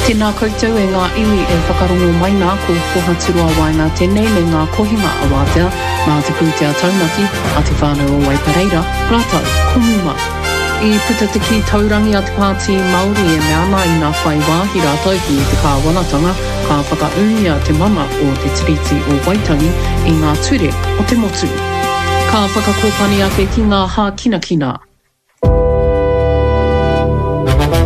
Tēnā koutou e ngā iwi e whakarongo mai nā, ko Pohaturoa Waenga tēnei me ngā kohinga awatea nā te pūtea taunaki a Te Whānau o Waipareira rātou ko Muma. I puta te kī taurangi a te Pāti Māori e mea ana ina whai wāhi rātou ki te kāwanatanga ka whakaūngia te mana o te Tiriti o Waitangi i ngā ture o te motu. Ka whakakōpani ake ki ngā hākinakina.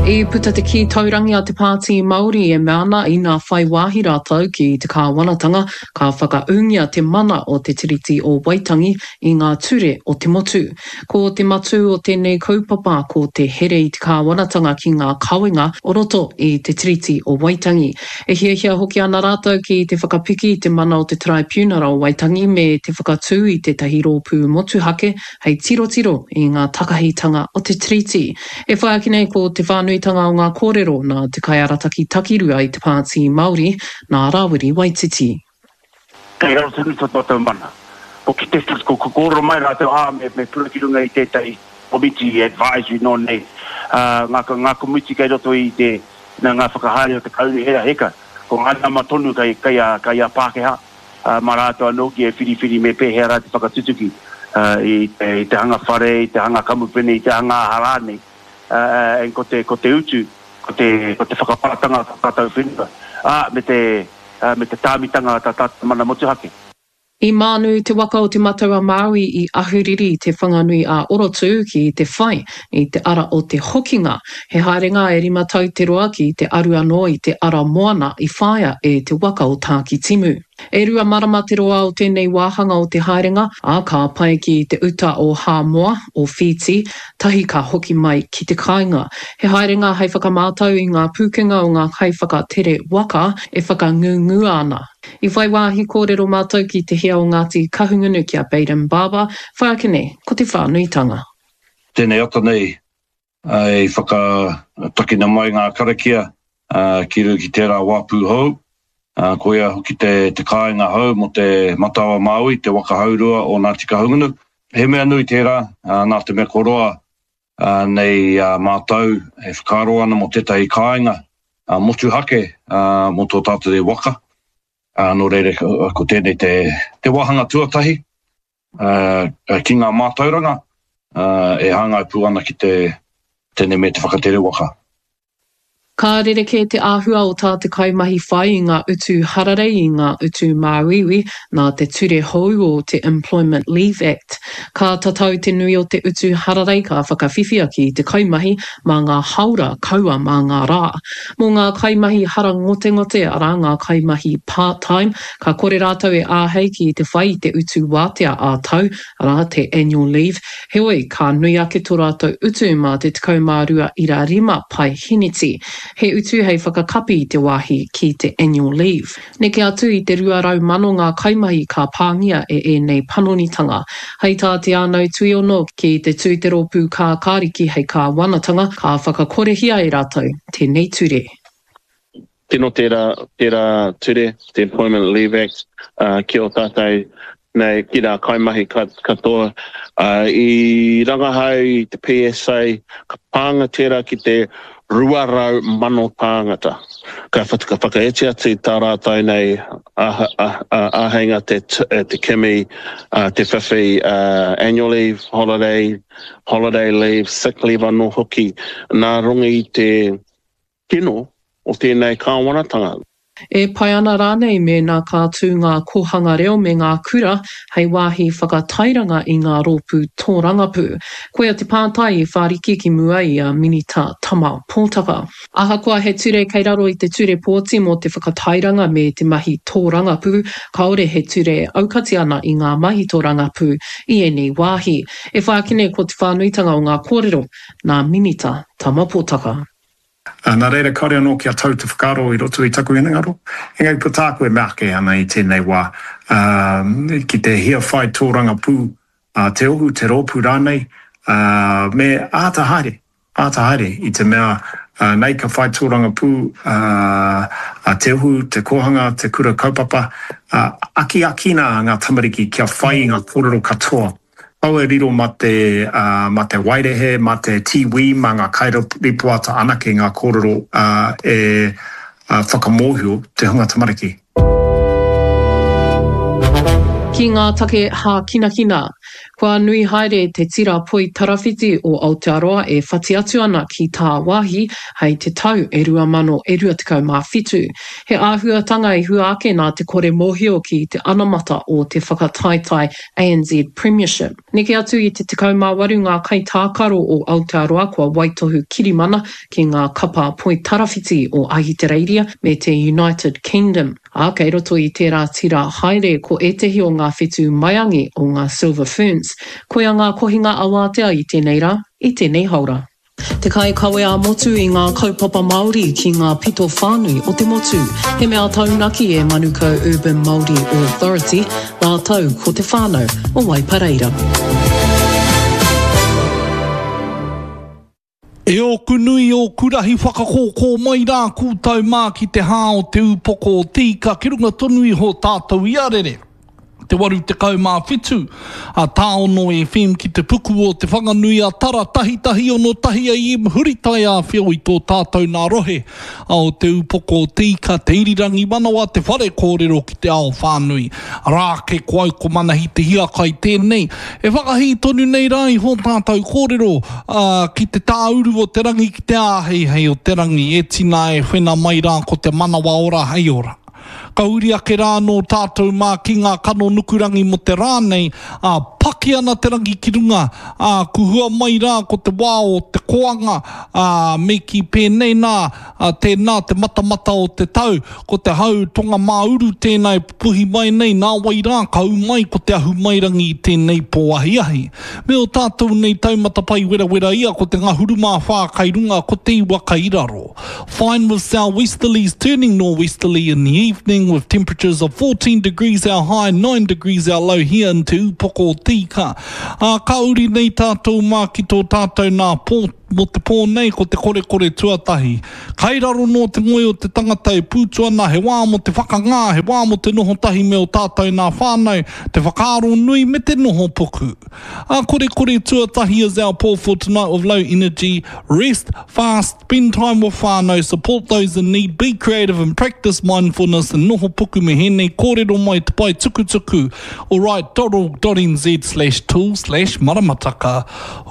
I puta te kī taurangi a te Pāti Māori e mea ana ina whai wāhi rātou ki te kāwanatanga, ka whakaūngia te mana o te Tiriti o Waitangi i ngā ture o te motu. Ko te matū o tēnei kaupapa ko te here i te kāwanatanga ki ngā kawenga o roto i te Tiriti o Waitangi. E hiahia hoki ana rātou ki te whakapiki i te mana o te Taraipiunara o Waitangi me te whakatū i tētahi rōpū motuhake hei tirotiro i ngā takahitanga o te Tiriti. E whai ake nei ko te whānuitanga o ngā kōrero nā te kaiarataki takirua i te Pāti Māori, nā Rāwiri Waititi. Kei raro tonu tō tātou mana. Ko kite ko kōrero mai rātou, ā, me, me pura ki runga i tētahi komiti advisory nō nei, ā, ngā, ngā komiti kei roto i te, nā ngā whakahaere o te kaunihera, heka, ko ngā nama tonu kei, kei a, kei a Pākehā. ā, mā rātou anō hoki e whiriwhiri me pēhea rā te whakatutuki i te hanga whare, i te hanga kamupene, i te hanga aha rānei, ā, and ko te, ko te utu, ko te, ko te whakapātanga o tā tātou whenua, ā, me te, ā, me te tāmitanga o tā tātou mana motuhake. I mānu te waka o Te Matau-a-Māui i Ahuriri i Te Whanganui-ā-Orotū ki te whai i te ara o te hokinga. He haerenga e rima tau te roa ki te aru anō i te ara moana i whāia e te waka o Tākitimu. E rua marama te roa o tēnei wāhanga o te haerenga, ā, ka pae ki te uta o Hāmoa, o Whītī, tahi ka hoki mai ki te kāinga. He haerenga hei whakamātau i ngā pūkenga o ngā kaiwhakatere waka e whakangungua ana. I whai wāhi kōrero mātou ki te hea o Ngāti Kahungunu ki a Bayden Barber, whai ake nei ko te whānuitanga. Tēnei ata nei i whakatakina mai ngā karakia ki runga ki tērā wāpu hou, koia hoki te kāinga hou mō Te Matau-a-Māui, te waka haurua o Ngāti Kahungunu. He mea nui tērā, nā te mea kua roa nei a mātou e whakaaro ana mō tētahi kāinga motuhake mō tō tātou nei waka, nō reira ko tēnei te wāhanga tuatahi. ki ngā mātauranga e hāngai pū ana ki te tēnei me te whakatere waka. Ka rerekē te āhua o tā te kaimahi whai i ngā utu hararei i ngā utu māuiui nā te ture hou o te Employment Leave Act. Ka tatau te nui o te utu hararei ka whakawhiwhia ki te kaimahi mā ngā haora kaua mā ngā rā. Mō ngā kaimahi harangotengote, arā ngā kaimahi part-time, Ka kore rātou e āhei ki te whai i te utu wātea ā-tau, arā, te annual leave, heoi, ka nui ake tō rātou utu mā te 12.5 paeheneti. He utu hei whakakapi i te wāhi ki te annual leave. Neke atu i te 200,000 ngā kaimahi ka pāngia e ēnei panonitanga. Hei tā Te Ānau Tuiono, ki te tū te rōpū kākāriki hei kāwanatanga, ka whakakorehia e rātou tēnei ture. Tino tērā, tērā ture, te Employment Leave Act, ki o tātou nei, ki rā kaimahi katoa. I rangahau i te PSA, ka pānga tērā ki te 200,000 tāngata. Ka whakaiti atu tā rātou nei āheinga te kimi, te whiwhi annual leave, holiday, holiday leave, sick leave anō hoki, nā runga i te kino o tēnei kāwanatanga. E pai ana rānei mēnā ka tū ngā kōhanga reo me ngā kura hei wāhi whakatairanga i ngā rōpū tōrangapū? Koia te pātai i whāriki ki mua i a Minita Tama Pōtaka. Ahakoa he ture kei raro i te Ture Pōti mō te whakatairanga me te mahi tōrangapū, kāore he ture e aukati ana i ngā mahi tōrangapū i ēnei wāhi. E whai ake nei ko te whānuitanga o ngā kōrero nā Minita Tama Pōtaka. Ā, nā reira kāore anō kia tau te whakaaro i roto i taku hinengaro. Engari ko tāku e mea ake ana i tēnei wā, ā, ki te hia whai tōrangapū a te ohu, te rōpū rānei, ā, me āta haere, āta haere i te mea, ā, nei ka whai tōrangapū, ā, a te ohu, te kōhanga, te kura kaupapa, ā, akiakina ngā tamariki kia whai i ngā kōrero katoa. Kaua e riro ma te, ma te wairehe, ma te tīwī, ma ngā kairipoata anake ngā kōrero e Whakamōhio te hunga tamariki. Ki ngā take hākinakina, kua nui haere te tira poi tarawhiti o Aotearoa e whati atu ana ki tāwāhi hei te tau e 2027. He āhuatanga i hua ake nā te kore mōhio ki te anamata o te whakataetae ANZ Premiership. Neke atu i te 18 ngā kaitākaro o Aotearoa kua waitohu kirimana ki ngā kapa poitarawhiti o Ahitereiria me te United Kingdom, ā, kei roto i tērā tira haere ko ētehi o ngā whetū maiangi o ngā Silver Ferns. Koia ngā kohinga awātea i tēnei rā, i tēnei haora. Te kaikawe ā-motu i ngā kaupapa Māori ki ngā pito whānui o te motu. He mea taunaki e Manukau Urban Māori Authority rātou ko te whānau o Waipareira. E ōku nui, ōku rahi whakakōkō mai rā kūtau mā ki te hā o te ūpoko o te ika ki runga tonu iho tātou i a rere. Te 87 a Tāono FM ki te puku o Te Whanganui a Tara tahitahi ono tahi AM huri taiāwhio i tō tātou nā rohe a o te ūpoko o te ika, te irirangi manawa, te whare kōrero ki te ao whānui. Arā ake ko au ko Manahi Te Hiakai tēnei. E whakahī tonu nei rā iho tātou kōrero, ā, ki te tāuru o te rangi, ki te āheihei o te rangi, e tina e whena mai rā ko te manawa ora hei ora. Ka uri ake rā anō tātou mā ki ngā kano nukurangi mō te rā nei, ā, paki ana te rangi ki runga, ā, kuhua mai rā ko te wā o te koanga, ā, me kī pēnei nā, ā, tēnā te matamata o te tau, ko te hau tonga mā-uru tēnā e pupuhi mai nei, nāwai rā ka ū mai ko te ahumairangi i tēnei pō ahiahi. Me ō tātou nei taumata pai werawera ia ko te ngahuru mā whā kai runga, ko te iwa kai raro. Fine with southwesterlies turning norwesterly in the evening with temperatures of 14 degrees our high, 9 degrees our low here in Te Ūpoko o Te Ika. Ā, ka uri nei tātou mā ki tō tātou nā pō, Mō te pō nei, ko te korekore tuatahi. Kai raro nō te ngoi o te tangata e pūtu ana, he wā mō te whakangā, he wā mō te noho tahi me ō tātou nā whānau, te whakaaro nui me te noho puku. A korekore tuatahi is our pō for tonight with low energy, rest, fast, spend time with whānau, support those in need, be creative and practice mindfulness and noho puku me hēnei kōrero mai te pae tukutuku alright dot org dot nz slash tool slash maramataka.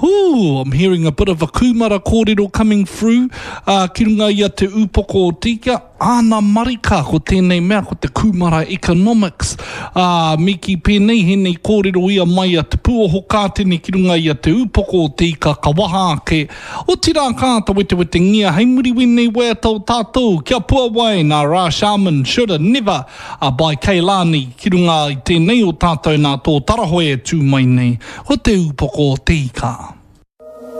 Ooh, I'm hearing a bit of a kūmara kōrero coming through, ā, ki runga i a Te Ūpoko o Tīkia, āna marika ko tēnei mea ko te kūmara economics. Ā, me kī pēnei hēnei kōrero ia mai a Te Pūoho Kātene ki runga i a Te Ūpoko o Te Ika ka waha ake, otirā ka āta wetewetengia hei muri wēnei waiata o tātou, kia puawai nā Ra Sharman, Shoulda Never. A by Keilani, ki runga i tēnei o tātou nā tō tarahoe e tū mai nei, ko te ūpoko o te ika.